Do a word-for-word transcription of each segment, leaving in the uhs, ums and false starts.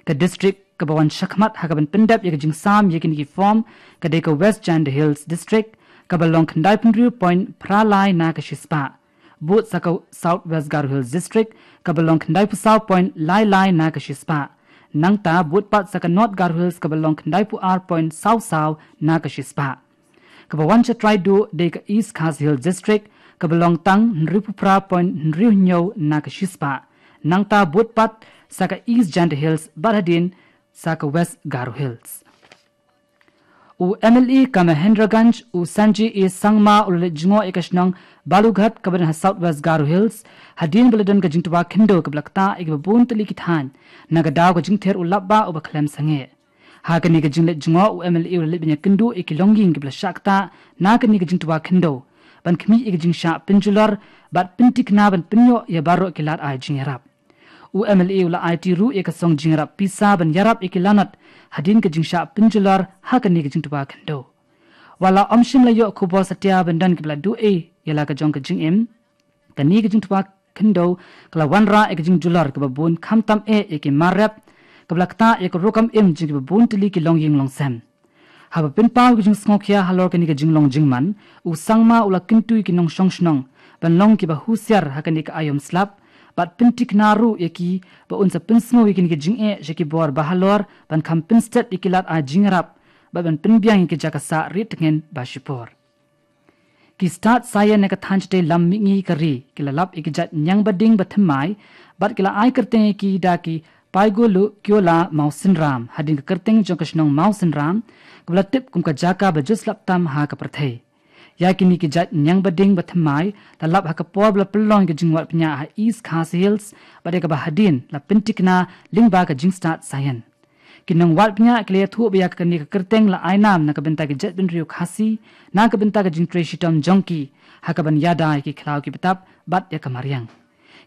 Ka district kaba wan shakhmat ha kaban pyndep ïa ka jingsam ïa kine ki form ka dei ka West Jaintia Hills District, kaba long khyndai phew hynriew point phra lai na ka shispah. Bud sa ka South West Garo Hills District, kaba long khyndai phew saw point lai lai na ka shispah. Nangta bud pat sa ka North Garo Hills, kaba long khyndai phew ar point saw saw na ka shispah. Kaba wan sha trai duh dei ka East Khasi Hills District, kaba long tang hynriew phew phra point hynriew hynñiew na ka shispah. Nangta bud pat sa ka East Jaintia Hills bad hadien sa ka West Garo Hills. U M L A ka Mahendraganj, u Sanjay A Sangma, u la leit jngoh ïa ka shnong Balughat kaba don ha South West Garo Hills, hadien ba la don ka jingtwa khyndew kaba la ktah ïa kiba bun tylli ki thaiñ, na ka daw ka jingther u lapbah uba khlem sangeh. Ha kane ka jingleit jngoh, u M L A u la leit ban ïakynduh ïa ki longïing kiba la shah ktah na kane ka jingtwa khyndew, ban khmih ïa ka jingshah pynjulor bad pynthikna ban pynïoh ïa baroh ki lad ai jingïarap. U M L A u la aiti ruh ïa ka song jingïarap pisa ban ïarap ïa ki lanot hadien ka jingshah pynjulor ha kane ka jingtwa khyndew. Wat la ym shym la ïoh khubor satia ban don kiba la duh ei ïa la ka jong ka jingim, kane ka jingtwa khyndew ka la wanrah ïa ka jingjulor kaba bun, khamtam eh ïa ki mar rep, kaba la ktah ïa ka rukom im jong kiba bun tylli ki longïing longsem. Haba pynpaw ïa ka jingsngewkhia halor kane ka jinglong jingman, u Sangma u la kyntu ïa ki nongshong shnong ban long kiba husiar ha kane ka aïom slap, bad pynthikna ruh ïa ki ba un sa pynsngew ïa kine ki jingeh sha ki bor ba halor, ban kham pynstet ïa ki lad ai jingïarap, bad ban pynbiang ïa ki jaka sah rieh tngen ba shipor. Ki stad saian na ka thaiñ shatei lam mihngi ka ri ki la lap ïa ki jait ñiang bading bathymmai, bad ki la ai kyrteng ïa ki da ki Paigolo Kiola Mawsynram, hadien ka kyrteng jong ka shnong Mawsynram, kaba la tip kum ka jaka ba ju slap tam ha ka pyrthei. Ïa kine ki jait ñiang bading bathymmai la lap ha ka por ba la pynlong ïa ka jingwad pynïaid ha East Khasi Hills, bad ïa kaba hadien la pynthikna lyngba ka jingstad saian. Ki nongwad pynïaid ki la ïathuh ba ïa kane ka kyrteng la ai nam na ka bynta ki jaitbynriew Khasi, na ka bynta ka jingtrei shitom jong ki ha kaban ïada ïa ki khlaw ki btap bad ïa ka mariang.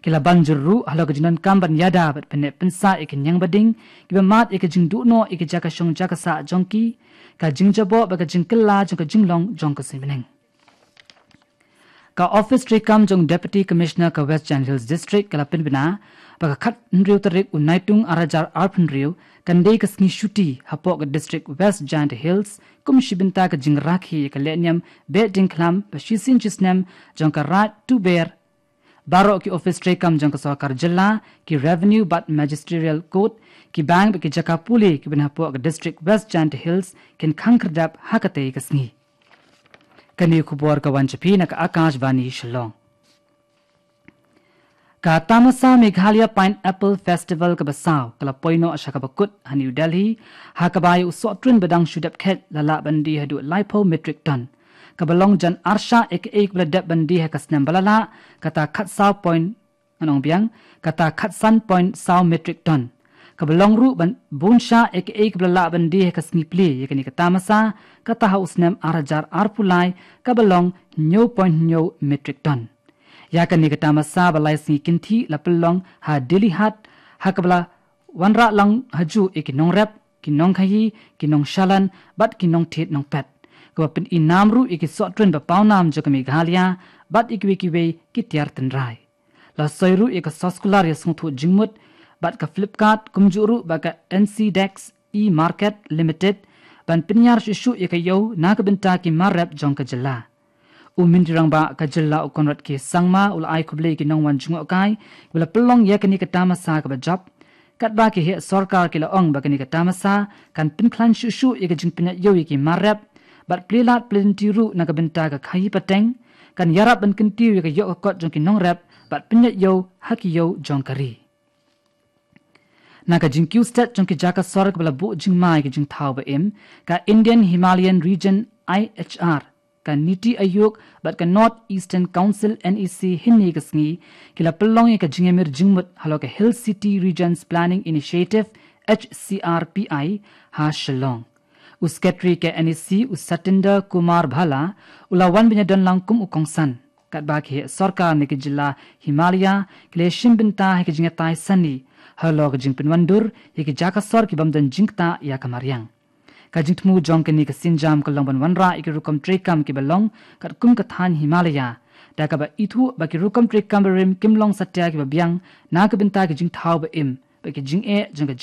Ki la ban jur ruh halor ka jingdonkam ban ïada bad pynneh pynsah ïa ki ñiang bading kiba mad ïa ka jingduh noh ïa ki jaka shong jaka sah jong ki, ka jingjaboh bad ka jingkylla jong ka jinglong jong ka suiñ bneng. Ka Office treikam jong Deputy Commissioner ka West Jaintia Hills District ka la pynbna ba ka khathynriew tarik u Naitung ar hajar arphew hynriew kan dei ka sngi shuti hapoh ka District West Jaintia Hills, kum shi bynta ka jingrakhe ïa ka lehniam beh diengkhlam ba shisien shisnem jong ka Raid Tuber. Baroh ki office treikam jong ka sorkar jylla, ki Revenue bad Magisterial Court, ki bank bad ki jaka pule kiba don hapoh ka District West Jaintia Hills kin khang khyrdep ha katei ka sngi. Kane ka khubor ka wan sha phi na ka Akashvani Shillong. Ka tamasa Meghalaya Pineapple Festival kaba saw ka la poi noh sha kaba kut ha New Delhi, ha kaba ïa u sohtrun ba dang shu dep khet la lah ban die haduh laiphew metric ton, kaba long jan arshah ïa kaei kaba la dep ban die ha ka snem ba la lah, kata khatsaw point, ngan ong biang, kata khatsan point saw metric ton, kaba long ruh ban bun shah ïa kaei kaba la lah ban die ha ka sngi plie ïa kane ka tamasa, kata ha u snem ar hajar arphew lai, kaba long hynñiew point hynñiew metric ton. Ïa kane ka tamasa ba lai sngi kynthih la pynlong ha Dilli Haat, ha kaba la wanrah lang hajuh ïa ki nongrep, ki nongkhaii, ki nongshalan bad ki nongthied nongpet, kaba pyni nam ruh ïa ki sohtrun ba pawnam jong ka Meghalaya bad ïa kiwei kiwei ki tiar tynrai. La soi ruh ïa ka soskular ïasngewthuh jingmut bad ka Flipkart, kumjuh ruh bad ka N C Dex E-Market Limited, ban pynïar shuh shuh ïa ka ïew na ka bynta ki mar rep jong ka jylla. U Myntri Rangbah ka jylla u Conrad K Sangma u la ai khublei ïa ki nongwan jngohkai ba la pynlong ïa kane ka tamasa kaba jop, katba ki heh sorkar ki la ong ba kane ka tamasa kan pynkhlaiñ shuh shuh ïa ka jingpynïaid ïew ïa ki mar rep, bad plie lad plie lynti ruh na ka bynta ka khaii pateng, kan ïarap ban kyntiew ïa ka ïoh ka kot jong ki nongrep bad pynïaid ïew ha ki ïew jong ka ri. Na ka jingkiew stet jong ki jaka sor kaba la buh jingma ïa ki jingthaw ba im, ka Indian Himalayan Region I H R, ka NITI Aayog bad ka North Eastern Council N E C hynne ka sngi ki la pynlong ïa ka jingïamir jingmut halor ka Hill City Regions Planning Initiative, H C R P I, ha Shillong. U Secretary ka N E C, u Satinder Kumar Bhalla, u la wan ban ïadon lang kum u kongsan, katba ki heh sorkar na ki jylla Himalaya ki la shim bynta ha ki jingïatai sani halor ka jingpynwandur ïa ki jaka sor ki bym don jingktah ïa ka mariang. Ka jingthmu jong kane ka sienjam ka long ban wanrah ïa ki rukom treikam kiba long katkum ka thaiñ Himalaya, da kaba ithuh ba ki rukom treikam barim kim long satia kiba biang na ka bynta ki jingthaw ba im bad ki jingeh jong ka